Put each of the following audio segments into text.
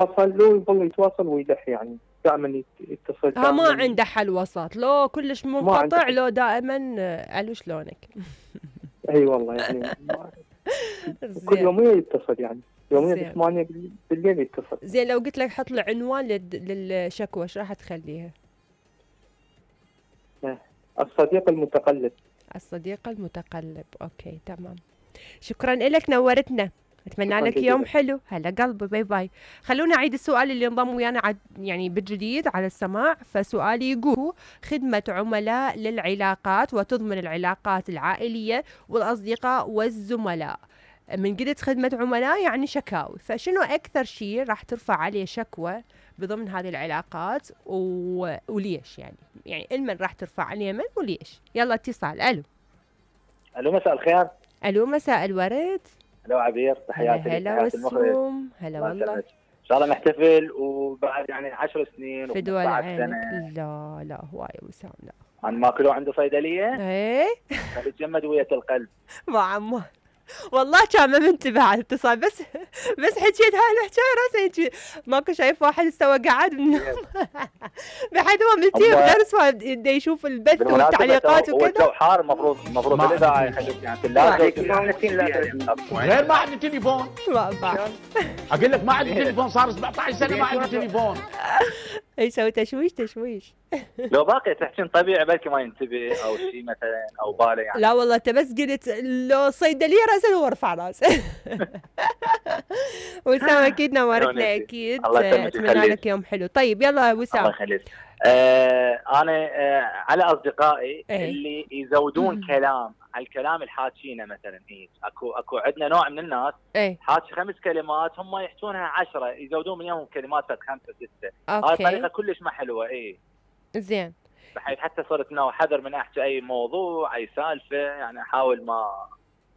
يتواصل لو يظل يتواصل ويلح يعني دائما يتصل ها ما دائما. عنده حل وسط، لو كلش ما عنده منقطع حل. لو دائما علو شلونك. اي والله يعني كل زين يوميا يتصل يعني يوميا زين 8 بالليل يتصل. زين، لو قلت لك حط له عنوان للشكوى ايش راح تخليها؟ الصديق المتقلب. الصديق المتقلب، اوكي تمام. شكرا لك، نورتنا. اتمنى شكرا لك يوم جزيلا. حلو. هلا قلبي، باي باي. خلونا اعيد السؤال اللي انضم ويانا يعني بالجديد على السماع. فسؤالي يقول: خدمة عملاء للعلاقات وتضمن العلاقات العائلية والأصدقاء والزملاء. من قلت خدمة عملاء يعني شكاوي، فشنو أكثر شيء راح ترفع عليه شكوى بضمن هذه العلاقات وليش يعني المن راح ترفع عليه من وليش؟ يلا اتصال. ألو. الو مساء الخير. ألو مساء الورد. الو عبير، تحياتي لك، هلا تحياتي المخرج. والسوم. هلا الله والله. يسلمك. ان شاء الله نحتفل وبعد يعني 10 سنين فدوى و15 عينك. سنه. لا لا هواي وسام لا. عن ماكلو عنده صيدليه ايه فبتجمد ويا القلب. ما عمو والله كان ما منتبه على الاتصال، بس حكيت هاي الحكايه راسي هيك ماكو شايف واحد استوى قاعد من النوم بحيث هو ملتي بدرس ودا يشوف البث والتعليقات هو وكذا. الجو حار، المفروض الاذاعه يخليك يعني غير ما عندي تليفون. ما بعرف اقول لك ما عندي تليفون، صار 17 سنه ما عندي تليفون. ايش سوي؟ تشويش. لو باقي تحكين طبيعي بلكي ما ينتبه او شيء مثلا او باله يعني. لا والله انت بس قلت لو صيدليه راسا هو رفع راسه. وسام اكيد نورتنا اكيد. اتمنى لك يوم حلو. طيب يلا وسام. الله يخليك. انا على اصدقائي اللي يزودون كلام على الكلام الحاكينه مثلا. اكو عندنا نوع من الناس حاكي 5 كلمات هم يحكونها 10، يزودون من يوم كلمات 5 6. هاي الطريقه كلش ما حلوه. زين. بحيث حتى صرت نوع حذر من احكي اي موضوع اي سالفه، يعني احاول ما.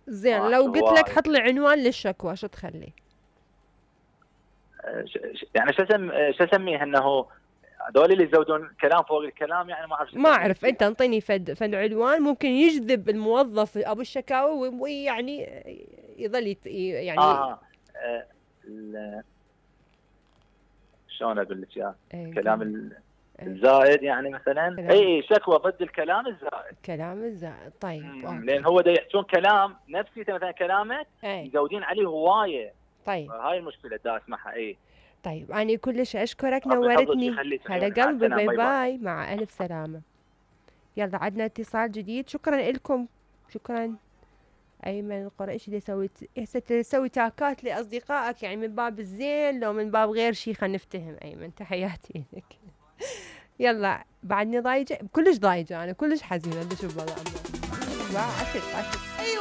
زين لو قلت لك حط لي عنوان للشكوى شو تخلي؟ يعني شو اسميه انه هذول اللي يزودون كلام فوق الكلام، يعني ما اعرف. انت انطيني فد عنوان ممكن يجذب الموظف ابو الشكاوى ويعني يظل يعني شلون اقول لك اياه؟ كلام الزائد يعني مثلا. شكوى ضد الكلام الزائد. طيب لان هو دا يحكون كلام نفسيته مثلا كلامك يزودين عليه هوايه. طيب هاي المشكله دا اسمعها. طيب أنا كلش أشكرك، نورتني. هلا قلبي، باي باي، مع ألف سلامة. يلا عدنا اتصال جديد. شكرا لكم. شكرا. أيمن القريشي تسوي تاكات لأصدقائك يعني من باب الزين لو من باب غير شيء. خلينا نفتهم أيمن، تحياتي لك. يلا بعدني ضايجة، كلش ضايجة أنا، كلش حزينة. بدي أشوف بابا عمو. عسل.